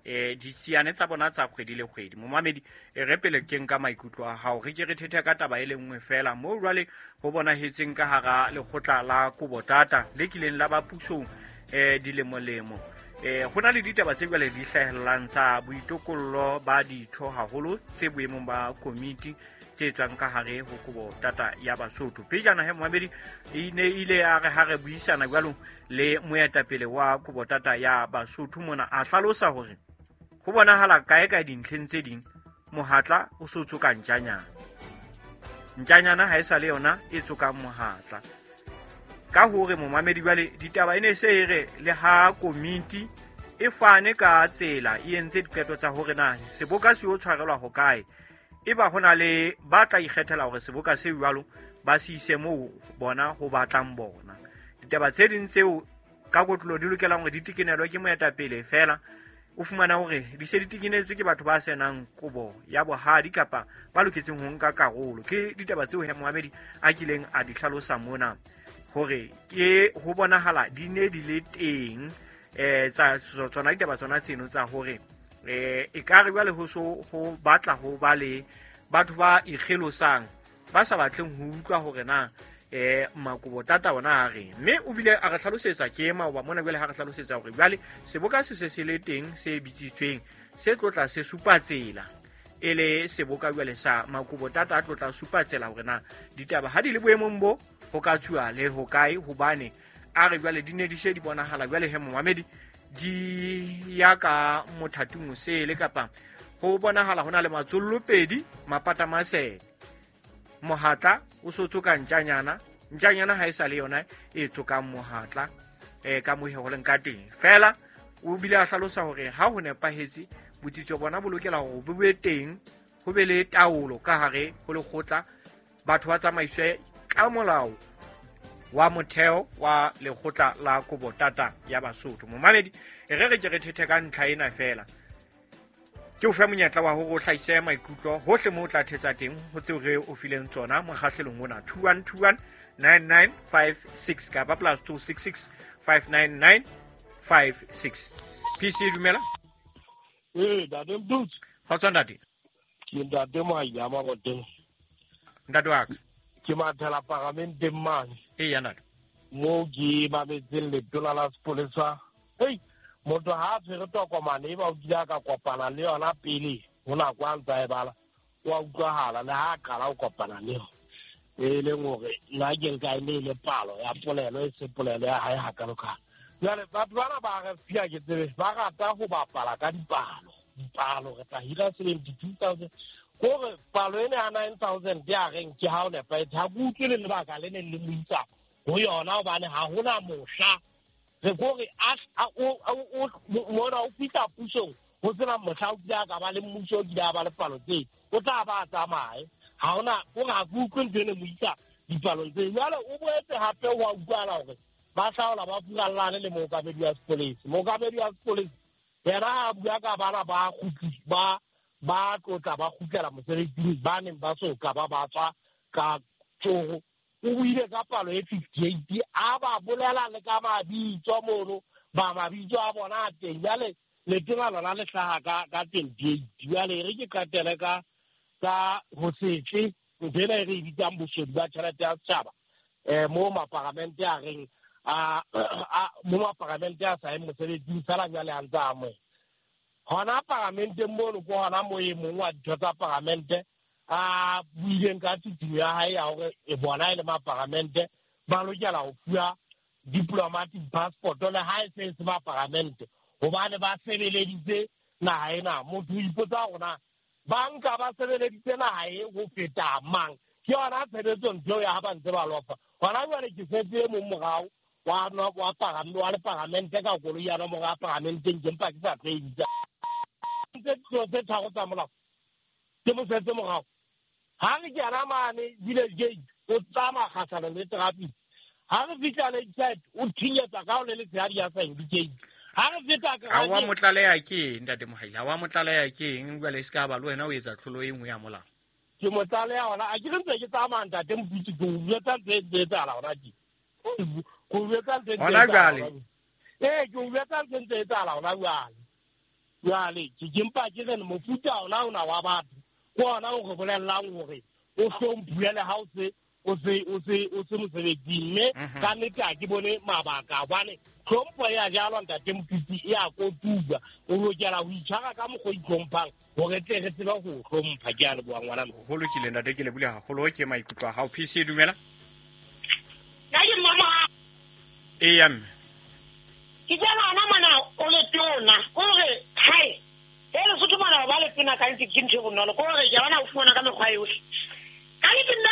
ditsiane tsa bona tsa kgwedi le kgwedi. Momamedi e re pele ke nka maikutlo a hao re ke re thethe ka taba e le nngwe fela moo jwale ho bonahetseng ka hara lekgotla la Kobotata le kileng la ba pusong dilemolemo. Ho na le ditaba tse jwale di hlahellang tsa boitokollo ba ditho haholo tse boemong ba komiti tse tswang ka hare ho Kobotata ya Basotho. Pejana he momamedi e ne ile ya re ha re buisana jwalo le moetapele wa Kobotata ya Basotho mona a hlalosa hore ho bonahala kae kae dintlheng tse ding mohatla o so tsoka ntjanyana. Ntjanyana ha e sa le yona e tsokang mohatla. Ka hore momamedi jwale ditaba e ne se e re le ha komiti e fane ka tsela e entse diqeto tsa hore na seboka se o tshwarelwa hokae, Eba ho na le ba tla ikgethela hore seboka se jwalo ba se ise moo bona ho batlang bona. Ditaba tse ding tseo ka kotlolo di lokelang hore di tekenelwe ke moetapele fela, o fumana hore di se di tekenetswe ke batho ba senang kobo ya bohadi kapa ba loketseng ho nka karolo. Ke ditaba tseo he Mohamedi a kileng a di hlalosa mona hore ke ho bonahala di ne di le teng tsa tsona ditaba tsona tseno tsa hore e ka re jwale ho so ho batla ho ba le batho ba ikgelosang ba sa batleng ho utlwa hore na makobo tata ona a reng. Mme o bile a re hlalosetsa ke maoba mona jwale ha re hlalosetsa hore jwale seboka se se se le teng se bitsitsweng se tlotla se supa tsela e le seboka jwale sa makobo tata a tlotla supa tsela hore na ditaba ha di le boemong bo ho ka tswa le ho kae, hobane a re jwale di ne di se di bonahala jwale he Mohamedi di ya ka mothating o sele kapa ho bonahala ho na le matsollopedi mapata masele mohatla o so tsoka ntjanyana ntjanyana ha e sa le yona e tsokang mohatla ka mohe ho leng ka teng. Fela o bile a hlalosa hore ha ho nepahetse botsitso bona bo lokela hore bo be teng, ho be le taolo ka hare ho lekgotla, batho ba tsamaiswe ka molao wa motheo wa lekgotla la Kobotata ya Basotho. Momamedi re re ke re thethe ka ntlha ena fela, ke o fe monyetla wa hore o hlahise maikutlo hohle moo o tla thetsa teng ho tseo re o fileng tsona mokgahlelong ona 2121 9956 kapa plus 266 599 56. PC dumela. Ntate Mdutsi. Kgotso ntate. Ke ntate Moaila Maboteng. Ntate wa ka. Ke mathela paramenteng mane. Eya ntate. Moo ke mametseng letona la sepolesa. Hei, motho ha a tshwere tokomane e ba o kile a ka kopana le yona pele ho nako a ntsa e bala, wa utlwahala le ha a qala ho kopana le yona. E leng hore nna ke nka e ne e le palo ya polelo e se polelo ya hae hakalokalo. Jwale batho bana ba re fia ke tsebe ba rata ho bapala ka dipalo. Dipalo re tla hira 72,000. Kore palo ena ya 9,000 ya reng ke ha o nepahetse. Ha ke utlwe le lebaka le neng le mo isa ho yona hobane ha hona mohla re kore mona o fihla pusong ho sena mohla o kile a ka ba le mmuso o kile a ba le palo tse, o tla ba a tsamaye. Ha hona o ha ke utlwe ntho e ne mo isa dipalong tse. Jwale o boetse hape wa utlwahala hore ba hlaola ba furallane le mookamedi wa sepolesa. Mookamedi wa sepolesa yena a bua ka bana ba kgutli ba ba tlotla ba kgutlela mosebetsing ba neng ba so ka ba ba tswa ka tsogo. O buile ka palo e 58 a ba bolela le ka mabitso mono ba mabitso a bona a teng. Jwale letona lona le hlaha ka 28. Jwale re ke qetele ka ho setle ntho ena e re e bitsang boshodu ba tjhelete ya setjhaba. Mo maparamente a reng mo maparamente a sa yeng mosebetsing fela jwale a ntse a amohela. Hona paramenteng mono ke hona moo e mong wa ditho tsa paramente a buileng ka tsitsinyo ya hae ya hore e bona e le maparamente ba lokela ho fuwa diplomatic passport le ha e se e se maparamente hobane ba sebeleditse naha ena. Motho o ipotsa hore na ba nka ba sebeleditse naha e ho feta mang. Ke yona tshebetso ntho eo ya ha ba ntse ba lofa. Hona jwale ke setse e mong morao wa le paramente ka koloi ya nomoro ya paramenteng ke mpa ke sa tlo e bitsa. Ntse tse tharo tsa molao ke mo setse morao. Ha re kena mane Village Gate o tsamaya kgahlanong le traffic. Ha re fihla Lakeside o thinyetsa ka ho le letshehadi ya sa indicate. Ha re feta ka ha wa motlaleha ke eng ntate Mohaila? Ha wa motlaleha ke eng jwale se ka ba le wena o etsa tlholo e nngwe ya molao? Ke motlaleha hona a ke re ntse ke tsamaya ntate Moputsi ke o jwetsa ntho e ntse etsahala hona tje. Ke o jwetsa ntho e ntse Hona jwale. Ke o jwetsa ntho e ntse etsahala hona jwale. Jwale ke mpa ke re mofuta ona ona wa batho ke ona o re bolellang hore o hlomphuwe le ha o se mosebetsing. Mme ka nnete ha ke bone mabaka hobane tlhompho ya jalwa ntate Moputsi e a kotulwa. O lokela ho itshwara ka mokgwa o itlhomphang hore tle re tsebe ho hlompha. Ke a leboha ngwana. Ho lokile ntate, ke lebohile haholo ke maikutlo a hao. PC dumela. Nna ke mama. Eya mme. Ke jala hona mona o le tona o re hai e Lesotho mona ba le tona ka ntse ke ntho e bonolo ko re ke bona o fumana ka mekgwa yohle. Ka nnete nna